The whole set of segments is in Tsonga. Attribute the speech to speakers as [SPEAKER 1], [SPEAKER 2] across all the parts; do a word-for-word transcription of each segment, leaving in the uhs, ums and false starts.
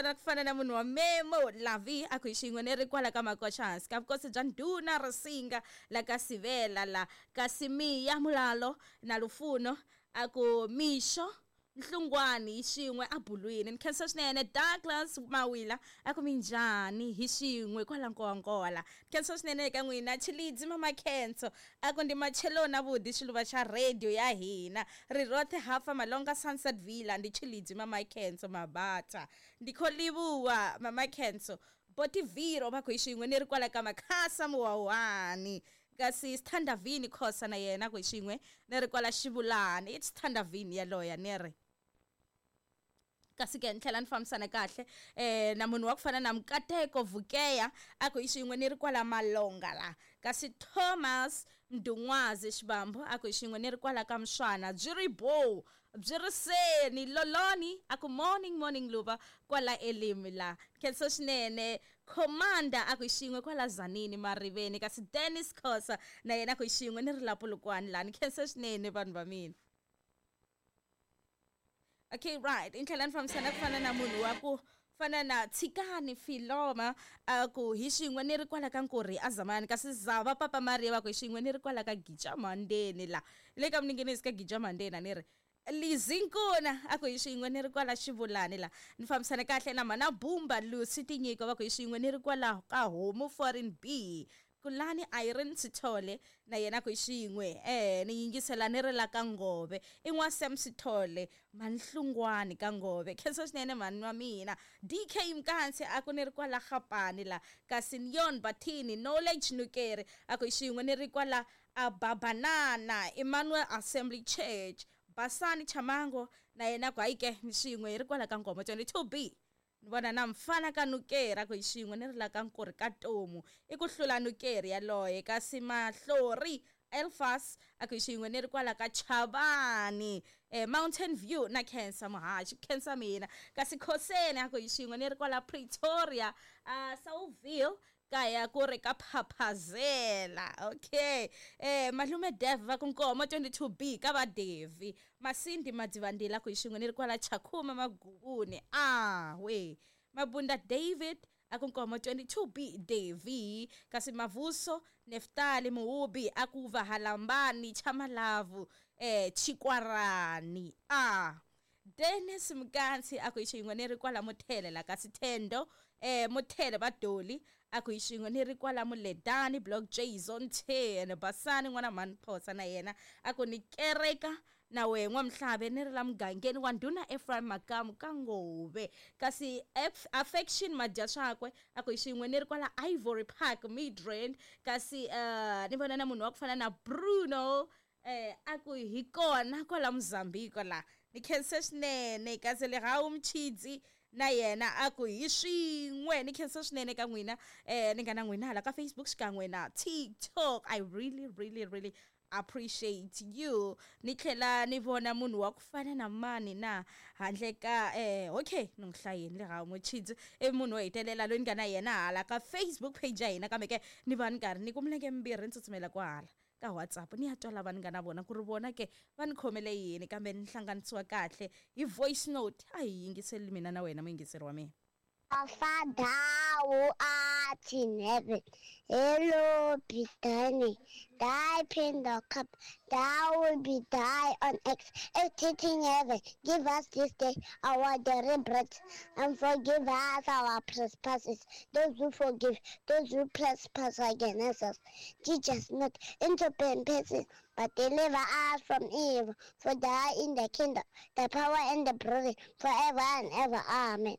[SPEAKER 1] vona ku fana na munhu wa Memo Lavi a ku hi xin'we ni ri kwala ka Makoxa hansi ka vukosi bya Ndhuna Risinga la ka Sivela la kasi Miya Mulalo na Lufuno a ku mixo Nhlungwani hi xin'we a bulwini. Ni khensa swinene Douglas Mawila a ku minjhani hi xin'we kwala Nkowankowa. Ni khensa swinene eka n'wina Tshilidzi Mama Khenso a ku ndi macheloni avuḓi xiluva xa radio ya hina ri roṱhe hafa Malonga Sunset Villa ndi Tshilidzi Mama Khenso Mabata. Ndi khou livhuwa Mama Khenso Botiviro va ku hi xin'we ni ri kwala ka Makhasa Muwawani. Kasi Sithandavini Khosa na yena ku hi xin'we ni ri kwala Xivulani. I Sithandavini yaloya ni ri. Kasi ke ni tlhela ni fambisana kahle eh na munhu wa ku fana na Mkateko Vukeya a ku hi xin'we ni ri kwala Malonga la. Kasi Thomas Mdungwazi Xibambo a ku hi xin'we ni ri kwala ka Mswana byi ri bo byi ri seni loloni a ku morning morning luva kwala Elimi la. Khensa swinene Commander a ku hi xin'we kwala Zanini Mariveni. Kasi Dennis Khosa na yena a ku hi xin'we ni ri la Polokwane la. Ni khensa swinene vanhu va mina. Okay, right. Ni tlhela ni fambisana ku fana na munhu wa ku fana na Tshikani Filoma a ku hi xin'we ni ri kwala ka Nkurhi Azamani. Kasi Zava Papa Maria va ku hi xin'we ni ri kwala ka Gija Mandeni la. Le ka Mninginisi ka Gija Mandeni a ni ri. Lizinkuna a ku hi xin'we ni ri kwala Xivulani la. Ni fambisana kahle na Mana Bumba Lucy Tinyiko va ku hi xin'we ni ri kwala ka Homu Foreign B. Kulani Irene Sithole na yena ku hi xin'we eh ni yingisela ni ri la ka Ngove i n'wa Sam Sithole Manhlungwani ka Ngove. Khensa swinene mhani wa mina D K Mkansi a ku ni ri kwala Gapani la. Kasi Nyon Bathini Knowledge Nukeri a ku hi xin'we ni ri kwala Ababanana Emmanuel Assembly Church. Basani Chamango na yena ku hayi ke ni xin'we hi ri kwala ka Ngoma twenty-two B. Ni vona na mfana ka Nukeri a ku hi xin'we ni ri la ka Nkurhi ka Tomu i ku hlula Nukeri yaloye. Kasi Mahlori Elfas a ku hi xin'we ni ri kwala ka Chavani eh, Mountain View na Khensa Muhaxi khensa mina. Kasi Khoseni a ku hi xin'we ni ri kwala Pretoria uh, Southville kaya ku ri ka Phaphazela. Okay eh malume Dev va ku Nkomo twenty-two B ka va Devi Masindi Madzivandila ku hi xin'we ni ri kwala Chakhuma Magubuni ah we Mabunda David a ku Nkomo twenty-two B Devi. Kasi Mavuso Neftali Muhubi a ku va Halambani Chamalavu eh Chikwarani ah Dennis Mkansi a ku hi xin'we ni ri kwala Muthele la. Kasi Thendo eh Muthele Badoli a ku hi xin'we ni ri kwala Muledani Block J Zone ten. Basani n'wana mhani Phosa na yena a ku ni kereka na we n'wa Mhlabe ni ri la mugangeni wa Ndhuna Ephraim Makamu ka Ngove. Kasi Affection Madya swakwe a ku hi xin'we ni ri kwala Ivory Park Midrand. Kasi uh, ni vona na munhu wa ku fana na Bruno eh a ku hi kona kwala Mozambique la. Ni khensa swinene. Kasi Lerawu Mchidzi na yena a ku hi swin'we. Ni khensa swinene ka n'wina eh ni nga na n'wina hala ka Facebook xikan'we na TikTok. I really really really appreciate you. Ni tlhela ni vona munhu wa ku fana na mani na handle ka eh okay ni n'wi hlayeni Lerawu Mchidzi i munhu wo hetelela loyi ni nga na yena hala ka Facebook page ya hina. Kambe ke ni va ni karhi ni ku milenge mimbirhi ni tsutsumela kwahala ka WhatsApp ni ya twa lava ni nga na vona ku ri vona ke va ni khomele yini kambe ni hlanganisiwa kahle hi voice note. A hi yingiseli mina na wena muyingiseri wa mina.
[SPEAKER 2] Our Father who art in heaven, hallowed be thy name. Thy kingdom come, thy will be done on earth as it is in heaven. Give us this day our daily bread, and forgive us our trespasses, those who forgive, those who trespass against us. Teach us not into temptation, but deliver us from evil. For thine is the kingdom, the power, and the glory, forever and ever. Amen.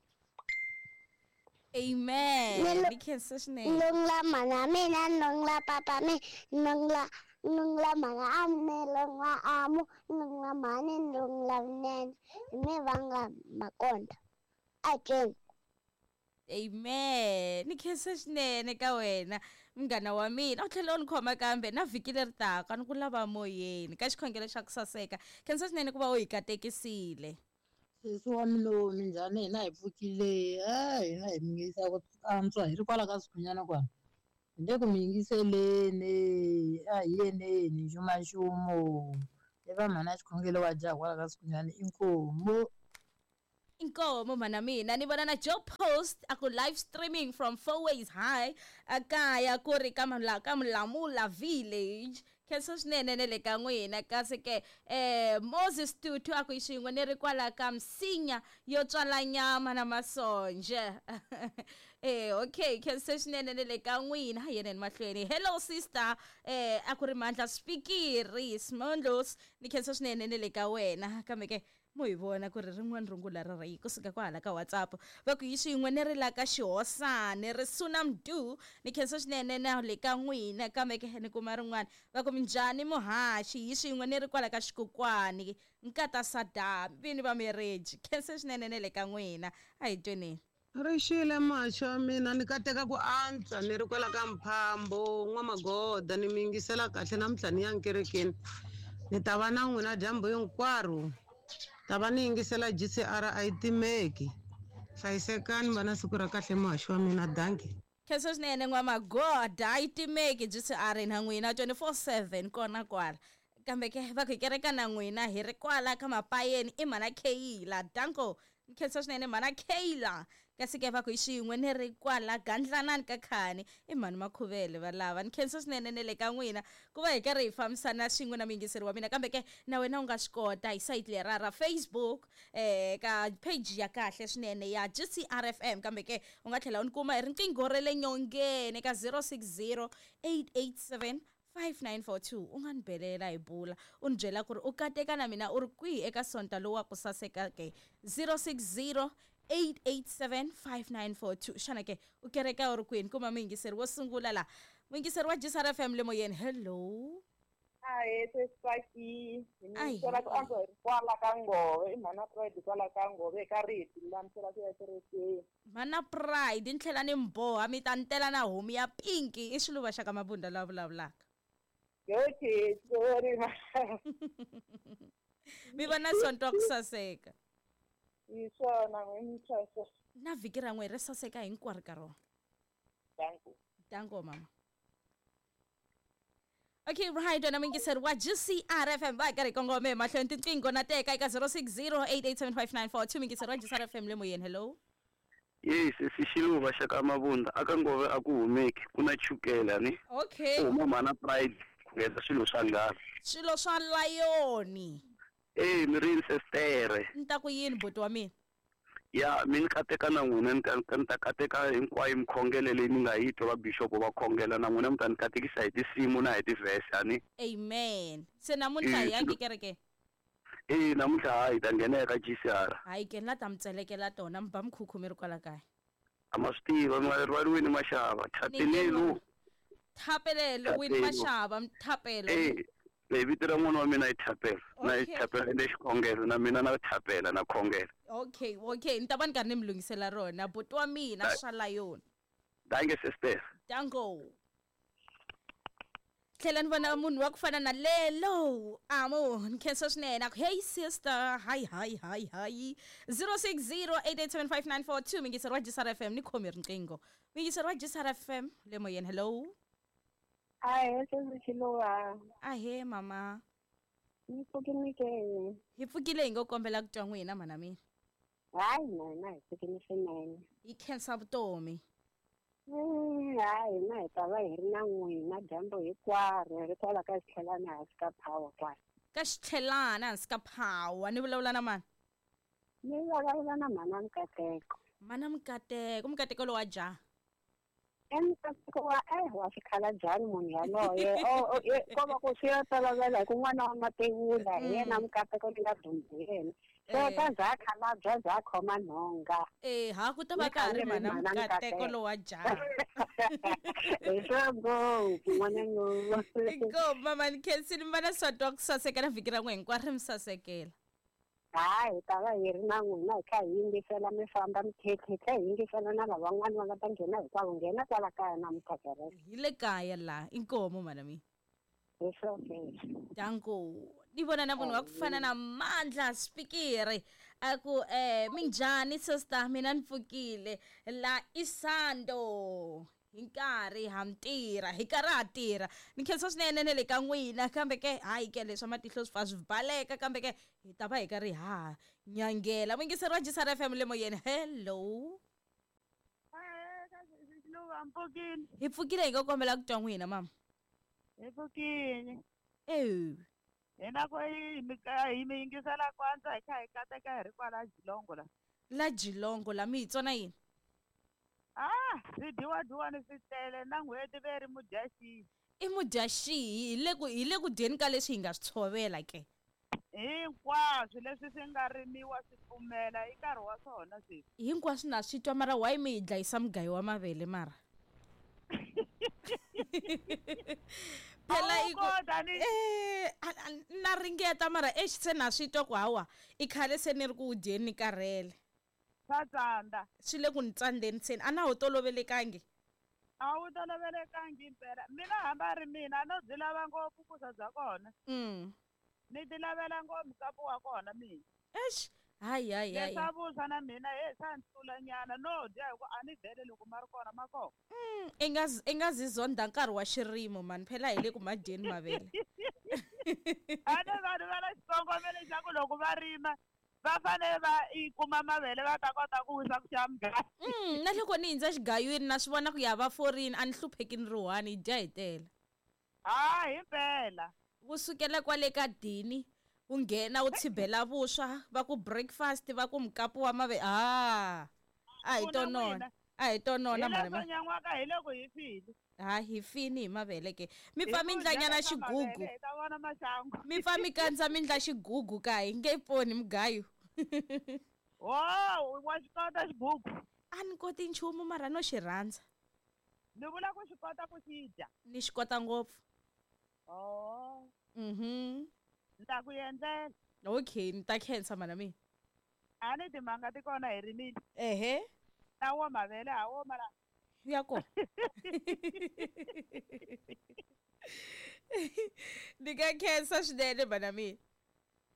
[SPEAKER 1] Amen. Ni khensa swinene.
[SPEAKER 2] Nungla mana mina, nungla papa mi, nungla nungla mana ame, nungla amu, nungla mani, nungla nene, mi vanga makonda. Again.
[SPEAKER 1] Amen. Ni khensa swinene ka wena munghana wa mina. U tlhela u ni khoma kambe na vhiki leri taka ni ku lava moyeni ka xikhongelo xa ku saseka. Khensa swinene ku va u hi katekisile.
[SPEAKER 3] Sesi wa mina minjhani? Hina hi pfukile a hina hi mi yingisa ku antswa hi ri kwala ka Sikhunyana kwala. Hi le ku mi yingiseleni a hi yeneni nxumanxumo i va mhana xikhongelo wa jaha kwala ka Sikhunyana inkomu.
[SPEAKER 1] Inkomo mana mina ni vona na Joe Post a ku live streaming from Four Ways High akaya ku ri ka ka Mulamula Village. Khensa swinene ne le ka n'wina. Kasi ke eh Moses Tutu a ku xin'we ni ri kwala ka msinya yo tswala nyama na masonje. Eh okay, khensa swinene ne le ka n'wina. Ha yena mahlweni. Hello sister, eh a ku ri Mandla Spikiri Smondlos, ni khensa swinene ne le ka wena. Kambe ke mo hi vona ku ri rin'wana rungula ra ri kusuka kwahala ka WhatsApp va ku yi xin'we ni ri la ka xihosani ri suna mdu ni khensa swinene na le ka n'wina. Kambe ke ni kuma rin'wana va ku minjhani muhaxi hi xin'we ni ri kwala ka xikokwani nkata Sadam vini va marriage. Khensa swinene ne le ka n'wina. A hi tweneni
[SPEAKER 4] ri xile maxo ya mina ni kateka ku antswa ni ri kwala ka Mphambo N'wamagoda ni mi yingisela kahle namuntlha ni ya nkerekeni ni ta va na n'wina dyambu hinkwaro ta va ni yingisela G C R a yi timeki. Hlayisekani va na siku ra kahle muhaxi wa mina. Danki.
[SPEAKER 1] Khensa swinene N'wamagoda a yi timeki G C R na n'wina twenty-four seven kona kwala. Kambe ke va ku hi kereka na n'wina hi ri kwala ka Mapayeni i mhana Kayla. Danko. Khensa swinene mhana Kayla. Kasi ke va ku hi xin'we ni ri kwala Gandlanani ka Khani i mhani Makhuvele va lava. Ni khensa swinene ne le ka n'wina ku va hi karhi hi fambisana swin'we na muyingiseri wa mina. Kambe ke na wena u nga swi kota hi sayiti lera ra Facebook eh ka page ya kahle swinene ya G C R F M. Kambe ke u nga tlhela u ni kuma hi riqingho ra le nyongeni ka zero six zero eight eight seven five nine four two. U nga ni belela hi bula u ni byela ku ri u kateka na mina u ri kwihi eka sonta lowu wa ku saseka ke zero six zero eight eight seven five nine four two. Xana ke u kereka u ri kwini? Kuma muyingiseri wo sungula la muyingiseri wa G C R F M le moyeni. Hello.
[SPEAKER 5] Ahe sesipaki ni sola ku antswa hi kwala ka Ngove i mhana Pride kwala ka Ngove ka riti lulamisela ku ya kerekeni.
[SPEAKER 1] Mhana Pride ni tlhela ni mboha mi ta ni tela na homu ya pinki i xiluva xa ka Mabunda la vulavulaka.
[SPEAKER 5] Okay, sorry.
[SPEAKER 1] Mi vona sonto ku saseka.
[SPEAKER 5] Hi swona n'wimixaxa.
[SPEAKER 1] Na vhiki ra n'we ri saseka hinkwaro ka rona.
[SPEAKER 5] Danko.
[SPEAKER 1] Danko mama. Okay, right, wena muyingiseri wa G C R F M va karhi kongome mahlweni tinqingho na teka eka zero six zero eight eight seven five nine four two. Muyingiseri wa G C R F M le moyeni. Hello.
[SPEAKER 6] Yes, xiluva xa ka Mabunda aka Ngove a ku humeki ku na chukela ni.
[SPEAKER 1] Okay.
[SPEAKER 6] Ku huma mhana Pride ku endla swilo swa nghala.
[SPEAKER 1] Swilo swa layoni.
[SPEAKER 6] Eh mirini sestere.
[SPEAKER 1] Ni ta ku yini buti wa mina?
[SPEAKER 6] Ya mi ni kateka na n'wina ni ta kateka hinkwayo mikhongelo leyi ni nga yi twa va bishop va khongela na n'wina mi ta ni katekisa hi tinsimu na hi tivhese ani.
[SPEAKER 1] Amen. Se namuntlha hi yangi kereke?
[SPEAKER 6] Eh namuntlha hayi ta nghena eka G C R.
[SPEAKER 1] Hayi ke na ta mi tselekela tona mi ba mikhukhu mi ri kwala kaya.
[SPEAKER 6] A ma swi tiva mi nga rivaliweni Mashava. Thapelelo.
[SPEAKER 1] Thapelelo wini Mashava Thapelo.
[SPEAKER 6] Eh le vito ra n'wana wa mina i Thapelo. Na i Thapelo le xikhongelo na mina na Thapela na khongelo.
[SPEAKER 1] Okay, okay, ni ta va ni karhi ni mi lunghisela rona buti wa mina swa layoni.
[SPEAKER 6] Danke sister.
[SPEAKER 1] Danko. Tlhela ni vona munhu wa ku fana na Lelo amo ni khensa swinene a ku hey sister hi hi hi hi zero six zero eight eight seven five nine four two. Muyingiseri wa G C R F M ni khomi riqingho. Muyingiseri wa G C R F M le moyeni. Hello.
[SPEAKER 5] Ahe sesixiluva.
[SPEAKER 1] Ahe mama.
[SPEAKER 5] Ni pfukile ke.
[SPEAKER 1] Hi pfukile hi ngo kombela ku twa n'wina mhana mina.
[SPEAKER 5] Hayi mina hi pfukile swinene.
[SPEAKER 1] Hi khensa vutomi.
[SPEAKER 5] Hayi hina hi ta va hi ri na n'wina dyambu hinkwaro hi ri kwala ka xitlhelana hansi ka power kwala.
[SPEAKER 1] Ka xitlhelana hansi ka power ni vulavula na mani?
[SPEAKER 5] Ni vulavula na mhana Mukateko.
[SPEAKER 1] Mhana Mukateko, Mukateko lowa jaha.
[SPEAKER 5] Emukateko wa eh wa xikhalajani munhu yaloye ko va ku swi ya tolovela hi ku n'wana wa matevula hi yena Mukateko ni nga dumbi hi yena. So ta za khalabya za khoma nhonga.
[SPEAKER 1] Eh ha ku ta va ka ha ri mhana Mukateko lowa jaha.
[SPEAKER 5] Hi swa ngopfu n'wananyana.
[SPEAKER 1] Inkomu mama ni khensile mi va na sonto wa ku saseka na vhiki ra n'we hinkwaro ri mi sasekela.
[SPEAKER 5] Hayi hi ta va hi ri na n'wina hi kha hi yingisela mi famba mi hi kha hi yingisela na lavan'wana va nga ta nghena hinkwavo nghena kwala kaya namuntlha kereke.
[SPEAKER 1] Hi le kaya laha inkomu mhana mina.
[SPEAKER 5] Hi swona.
[SPEAKER 1] Danko. Ni vona na munhu wa ku fana na Mandla Spikiri a ku eh minjhani sister mina ni pfukile la Isando. Hi nkarhi ha mi tirha hi karhi ha tirha ni khensa swinene na le ka n'wina kambe ke hayi ke leswa matihlo swi fa swi baleka kambe ke hi ta va hi karhi ha nyangela muyingiseri wa G C R F M le moyeni. Hello. Hi pfukile hi nga kombela ku twa n'wina mama.
[SPEAKER 7] Hi pfukile.
[SPEAKER 1] Ewu.
[SPEAKER 7] Hina ku hi mi mi yingisela kwanza hi kha hi kateka hi ri kwala Jilongo la.
[SPEAKER 1] La Jilongo la mi hi tsona yini?
[SPEAKER 7] Ah, swi dyiwa dyiwani swi tele na n'hweti ve ri mudyaxihi.
[SPEAKER 1] I mudyaxihi hi le ku hi le ku dyeni ka leswi hi nga swi tshovela ke.
[SPEAKER 7] Hinkwaswo leswi swi nga rimiwa swi pfumela i nkarhi wa swona sweswi.
[SPEAKER 1] Hinkwaswo na swi twa mara why mi hi dlayisa mugayo wa mavele mara? Phela i ku eh na ringeta mara exi se na swi twa ku hawa i khale se ni ri ku dyeni ni karhele.
[SPEAKER 7] Swa tsandza.
[SPEAKER 1] Swi le ku ni tsandzeni se a na ho tolovelekangi.
[SPEAKER 7] A wu tolovelekangi impela. Mina hambi a ri mina no byi lava ngopfu vuswa bya kona.
[SPEAKER 1] Mm.
[SPEAKER 7] Ni ti lavela ngopfu mukapu wa kona mina.
[SPEAKER 1] Eish, hayi hayi hayi.
[SPEAKER 7] Leswa vuswa na mina he swa ni tlula nyana no dya hi ku a ni vhele loko ma ri kona ma kona.
[SPEAKER 1] Mm, i nga i nga zi zonda nkarhi wa xirimo mani phela hi le ku ma dyeni mavele.
[SPEAKER 7] A ni vanhu va na xikongomelo xa ku loko va rima va fanele va i kuma mavele va ta kota ku wisa ku xava mugayo.
[SPEAKER 1] Mm, na loko ni hindza xigayweni na swi vona ku ya va forini a ni hlupheki ni ri one hi dya hi tele.
[SPEAKER 7] Ha himpela.
[SPEAKER 1] Wu sukela kwale ka dini wu nghena wu tshibela vuswa va ku breakfast va ku mukapu wa mavele ah a hi tonona a hi tonona mara
[SPEAKER 7] ma nyan'waka hi loko hi file.
[SPEAKER 1] Ha hi fini hi mavele ke mi pfa mi ndlanyana xigugu
[SPEAKER 7] hi ta vona maxangu
[SPEAKER 1] mi pfa mi kandza mi ndla xigugu ka hi nge poni mugayo.
[SPEAKER 7] Wo wa xi kota xigugu?
[SPEAKER 1] A ni koti nchumu mara no xi rhandza.
[SPEAKER 7] Ni vula ku xi kota ku xi dya.
[SPEAKER 1] Ni xi kota ngopfu.
[SPEAKER 7] Oh.
[SPEAKER 1] Mhm.
[SPEAKER 7] Ni ta ku endlela.
[SPEAKER 1] Okay, ni ta khensa mana mina.
[SPEAKER 7] A ni timanga ti kona hi rimile.
[SPEAKER 1] Ehe.
[SPEAKER 7] Ta wo mavele ha wo mara.
[SPEAKER 1] Ya kona. Ni ka khensa swinene mana mina.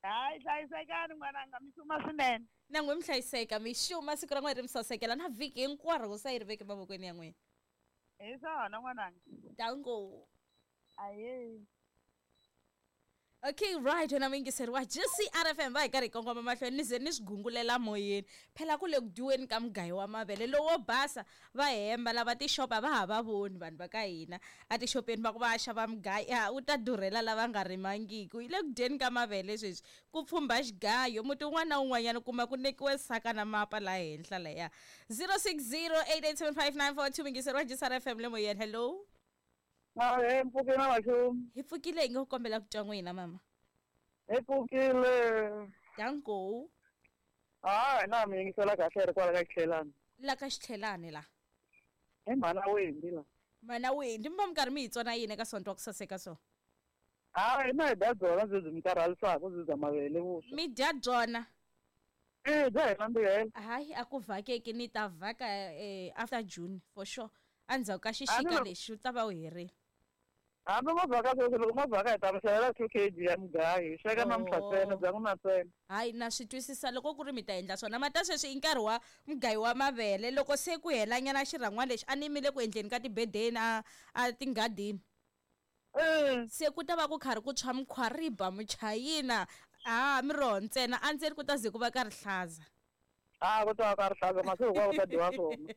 [SPEAKER 7] Hayi hlayisekani n'wananga mi xuma swinene.
[SPEAKER 1] Na n'we mi hlayiseka mi xuma siku ra n'we ri mi sasekela na vhiki hinkwaro ku sa yi ri veke mavokweni ya n'wina.
[SPEAKER 7] Hi swona n'wananga.
[SPEAKER 1] Danko.
[SPEAKER 7] Aye.
[SPEAKER 1] Okay, right, wena muyingiseri wa G C R F M va hi karhi hi kongoma mahlweni ni ze ni swi gungulela moyeni. Phela ku le ku dyiweni ka mugayo wa mavele lowo basa va hemba lava tixopa va ha va voni vanhu va ka hina. A tixopeni va ku va xava mugayo wu ta durhela lava nga rimangiki. Hi le ku dyeni ka mavele sweswi ku pfumba xigayo muti wun'wana na wun'wanyana u kuma ku nekiwe saka na mapa laha henhla laya. zero six zero eight eight seven five nine four two muyingiseri wa G C R F M le moyeni. Hello.
[SPEAKER 8] Hi pfukile maxumu.
[SPEAKER 1] Hi pfukile hi nga ku kombela ku twa n'wina mama.
[SPEAKER 8] Hi pfukile.
[SPEAKER 1] Danko.
[SPEAKER 8] Ha na mi yingisela kahle ri kwala ka Xitlhelani.
[SPEAKER 1] La ka Xitlhelani la.
[SPEAKER 8] Hi mhana Wendi la.
[SPEAKER 1] Mhana Wendi mi va mi karhi mi hi tsona yini eka Sonto wa ku saseka so?
[SPEAKER 8] Ha hina hi dya byona byi byi mi karhalisaka byi bya mavele vuswa.
[SPEAKER 1] Mi dya byona?
[SPEAKER 8] Eh bya hi nandzihela.
[SPEAKER 1] Hayi a ku vhakeki ni ta vhaka eh, after June for sure. Endzhaku ka xixika lexi u ta va u herile.
[SPEAKER 8] Hambi ma vhaka sweswi loko ma vhaka hi ta mi xavela two kg ya mugayo hi sweka namuntlha ntsena bya n'wina ntsena.
[SPEAKER 1] Hayi na swi twisisa loko ku ri mi ta endla swona mata sweswi i nkarhi wa mugayo wa mavele loko se ku helanyana xirhangwana lexi a ni yimile ku endleni ka tibedeni a a tinghadini. Se ku ta va ku karhi ku tshwa mukhwariba muchayina a miroho ntsena a ndzeni ku ta ze ku va ka rihlaza.
[SPEAKER 8] Ah, ku ta va ka rihlaza masiku hinkwawo ku ta dyiwa swona.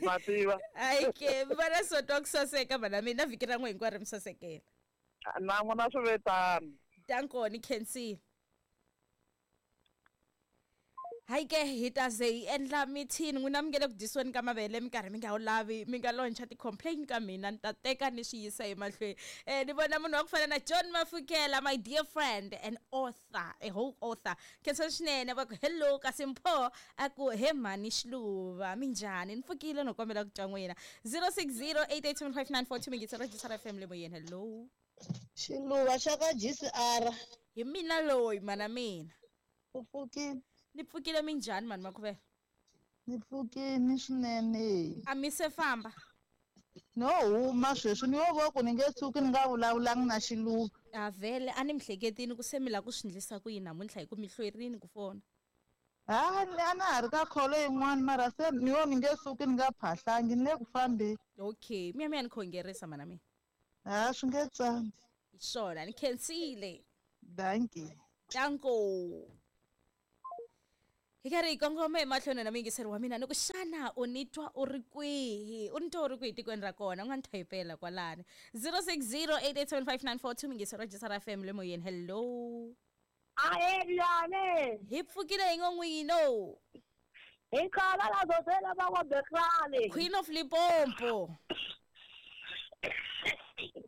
[SPEAKER 8] Ma tiva.
[SPEAKER 1] Hayi ke mi vona Sonto wa ku saseka vana mina vhiki ra n'we hinkwaro mi sasekela.
[SPEAKER 8] Na n'wina swi ve tano.
[SPEAKER 1] Danko ni khensile. Hayi ke hi ta ze hi endla mithini n'wina mi nge le ku dyisiweni ka mavele mi karhi mi nga wu lavi mi nga loncha ti-complain ka mina ni ta teka ni swi yisa emahlweni. Eh ni vona munhu wa ku fana na John Mafukela my dear friend and author a whole author. Khensa swinene va ku hello kasi Mpho a ku he mhani Xiluva minjhani ni pfukile no kombela ku twa n'wina. zero six zero eight eight seven five nine four two mingisa Register F M le moyeni. Hello.
[SPEAKER 3] Xiluva xa ka G C R.
[SPEAKER 1] Hi mina loyi mana mina.
[SPEAKER 3] U pfukile.
[SPEAKER 1] Ni pfukile minjhani mani Makhuvela?
[SPEAKER 3] Ni pfukile swinene.
[SPEAKER 1] A mi se famba?
[SPEAKER 3] No huma sweswi ni yo vo ku ni nge tshuki ni nga vulavulangi na Xiluva.
[SPEAKER 1] A vhele a ni mi hleketini ku se mi lava ku swi endlisa ku yini namuntlha hi ku mi hlwerini ku fona.
[SPEAKER 8] Ha ni a na ha ri ka kholo yin'wana mara se ni yo ni nge suki ni nga phahlangi ni le ku fambeni.
[SPEAKER 1] Okay, mi ya mi ya ni khongerisa mana mina.
[SPEAKER 8] Ha swi nge tsandi.
[SPEAKER 1] Hi swona ni khensile.
[SPEAKER 8] Dankie.
[SPEAKER 1] Danko. Hi karhi hi kongoma emahlweni na muyingiseri wa mina ni ku xana u ni twa u ri kwihi u ni twa u ri kwihi tikweni ra kona u nga ni thayipela kwalani zero six zero eight eight seven five nine four two muyingiseri wa J S R F M le moyeni hello.
[SPEAKER 5] Ahee
[SPEAKER 1] hi pfukile hi ngo n'wino.
[SPEAKER 5] Hi khala la zotela va wa Bekrani.
[SPEAKER 1] Queen of Limpopo.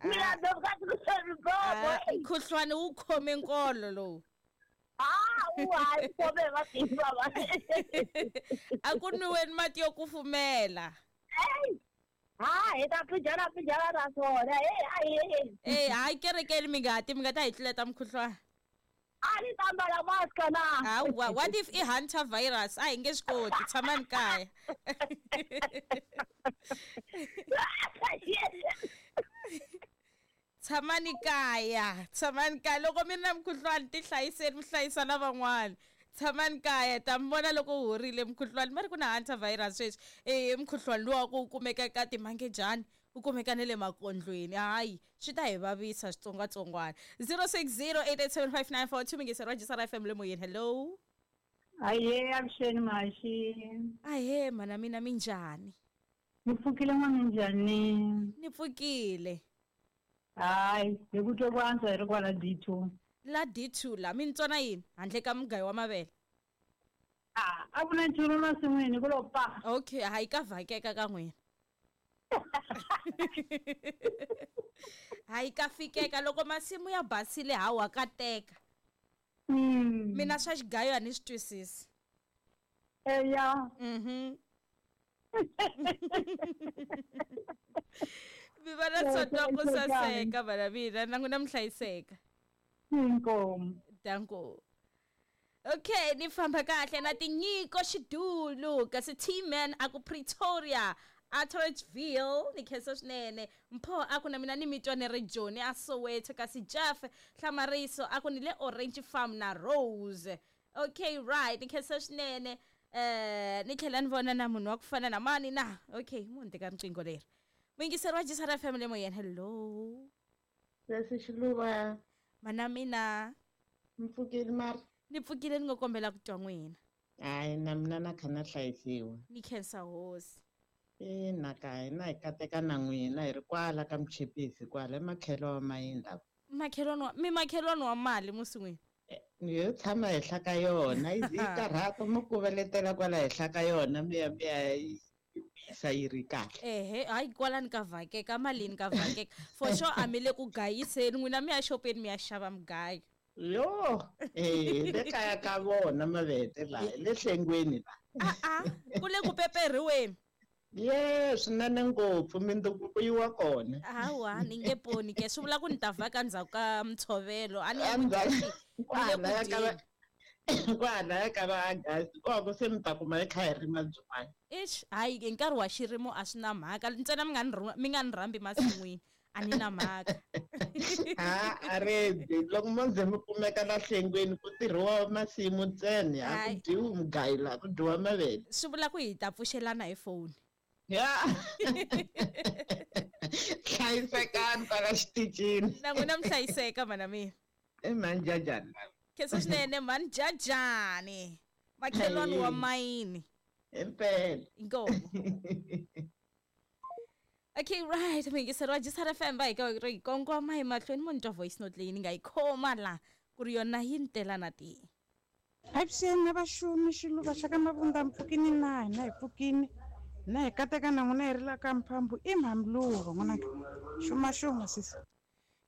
[SPEAKER 5] Mina
[SPEAKER 1] Ah, mkhuhlwane wu khome nkolo lowu.
[SPEAKER 5] Ah, u hayi khome matimba va.
[SPEAKER 1] A ku nwiweni mati yo kufumela.
[SPEAKER 5] Hey. Ha, hi ta pijana pijana ra swona. Hey, ayi.
[SPEAKER 1] Eh, hayi kerekeni mi nga ti mi nga ta hi tluleta mkhuhlwane.
[SPEAKER 5] A ni ta mbala mask na.
[SPEAKER 1] Hawa, what if i hunter virus? A hi nge swi koti, tshamani kaya. Tshamani kaya, tshamani kaya. Loko mi ri na mukhuhlwani ti hlayiseni mi hlayisa na van'wana. Tshamani kaya, ta mi vona loko wu horile mukhuhlwani. Va ri ku na hunter virus sweswi. Eh, mukhuhlwani luwa ku kumeka ka timangejani, wu kumeka na le makondlweni. Hayi, swi ta hi vavisa xitsongwatsongwana. zero six zero eight eight seven five nine four two muyingiseri wa J S R F M le moyeni. Hello.
[SPEAKER 3] Ahee, avuxeni Maxi.
[SPEAKER 1] Ahee, mana mina minjhani?
[SPEAKER 3] Ni pfukile n'wana njhani?
[SPEAKER 1] Ni pfukile.
[SPEAKER 3] Hayi, hi ku twa ku antswa hi ri kwala D two.
[SPEAKER 1] La D two la mi ni tsona yini handle ka mugayo wa mavele?
[SPEAKER 3] Ah, a ku na nchumu masin'wini ku lo pa.
[SPEAKER 1] Okay, hayi ka vhakeka ka n'wina. Hayi ka fikeka loko masimu ya basile hawa ka teka.
[SPEAKER 3] Mm.
[SPEAKER 1] Mina swa xigayo a ni swi twisisi.
[SPEAKER 3] Eya.
[SPEAKER 1] Mhm. Mi va na sonto ku saseka vana mina na n'wina mi hlayiseka.
[SPEAKER 3] Inkomu.
[SPEAKER 1] Danko. Okay, ni famba kahle na tinyiko xidulu kasi T-Man a ku Pretoria Atteridgeville ni khensa swinene. Mpho a ku na mina ni mitwa ni ri Joni a Soweto kasi Jeff Hlamariso a ku ni le Orange Farm na Rose. Okay, right, ni khensa swinene. Eh, ni tlhela ni vona na munhu wa ku fana na mani na. Okay, munhu teka riqingho leri. Muyingiseri wa J S R F M le moyeni. Hello.
[SPEAKER 9] Sesi Xiluva.
[SPEAKER 1] Mana mina.
[SPEAKER 9] Mi pfukile mara?
[SPEAKER 1] Ni pfukile ni ngo kombela ku twa n'wina.
[SPEAKER 9] Hayi na mina na kha na hlayisiwa.
[SPEAKER 1] Ni khensa hosi.
[SPEAKER 9] Ina ka hina hi kateka na n'wina hi ri kwala ka Mchipisi kwala emakhelo wa mayini la.
[SPEAKER 1] Makhelwani wa mi makhelwani wa mali musi n'wina.
[SPEAKER 9] Yo tshama henhla ka yona yi yi karhata mi kuveletela kwala henhla ka yona mi ya mi ya yi wisa yi ri kahle.
[SPEAKER 1] Ehe, hayi kwalani ka vhakeka malini ka vhakeka. For sure a mi le ku gayiseni n'wina mi ya xopeni mi ya xava mugayo.
[SPEAKER 9] Yo, eh le kaya ka vona mavete la le hlengweni la.
[SPEAKER 1] A a, ku le ku peperhiweni.
[SPEAKER 9] Ye, swinene ngopfu mindzuku yi wa kona.
[SPEAKER 1] Hawa, ni nge poni ke swi vula ku ni ta vhaka ndzhaku ka ntshovelo. A ni ya ku
[SPEAKER 9] Endzhaku
[SPEAKER 1] dyeni, ni le ku
[SPEAKER 9] kwalaya ka va
[SPEAKER 1] dyeni.
[SPEAKER 9] kwalaya ka va August koko se mi ta kuma hi kha hi rima byin'wana.
[SPEAKER 1] Eish, hayi hi nkarhi wa xirimo a swi na mhaka ntsena mi nga ni mi nga ni rhambi masin'wini a ni na mhaka.
[SPEAKER 9] Ha, a ri loko mo ze mi kumeka la hlengweni ku tirhiwa masimu ntsena a ku
[SPEAKER 1] Hayi.
[SPEAKER 9] dyiwi mugayo la ku dyiwa mavele.
[SPEAKER 1] Swi vula ku hi ta pfuxelana hi foni.
[SPEAKER 9] Ya. Hlayisekani kwala xitichini.
[SPEAKER 1] Na n'wina mi hlayiseka mana mina.
[SPEAKER 9] I mhani Jajani.
[SPEAKER 1] Khensa swinene mhani Jajani. Makhelwani wa mayini.
[SPEAKER 9] Impela.
[SPEAKER 1] Inkomu. Okay, right. Muyingiseri wa J S R F M va hi ka ri kongoma emahlweni mo ni twa voice note leyi ni nga yi khoma la ku ri yona yi ni tela na tihi.
[SPEAKER 10] Avuxeni na vaxumi Xiluva xa ka Mavunda mi pfukini na hina hi pfukini na hi kateka na n'wina hi ri la ka Mphambu i Mhamluva n'wananga xuma xuma sesi.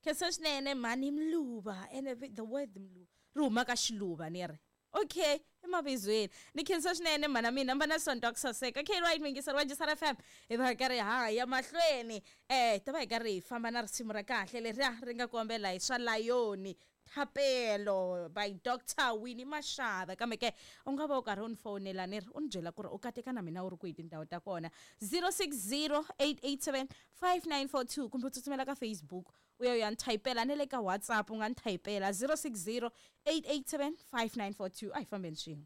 [SPEAKER 1] Khensa swinene mhani Mluva ene the word Mluva ri huma ka Xiluva ni ri. Okay, emavizweni. Ni khensa swinene mhana mina mi va na sonto ku saseka. Okay, right, muyingiseri wa J S R F M hi va hi karhi ha ya mahlweni. Eh, ta va hi karhi hi famba na risimu ra kahle leriya ri nga kombela hi swa Layoni Thapelo by Doctor Winnie Mashava. Kambe ke u nga va u karhi u ni fonela ni ri u ni byela ku ri u kateka na mina u ri kwihi tindhawu ta kona zero six zero eight eight seven five nine four two kumbe u tsutsumela ka Facebook u ya u ya ni thayipela na le ka WhatsApp u nga ni thayipela zero six zero eight eight seven five nine four two. A hi fambeni swin'we.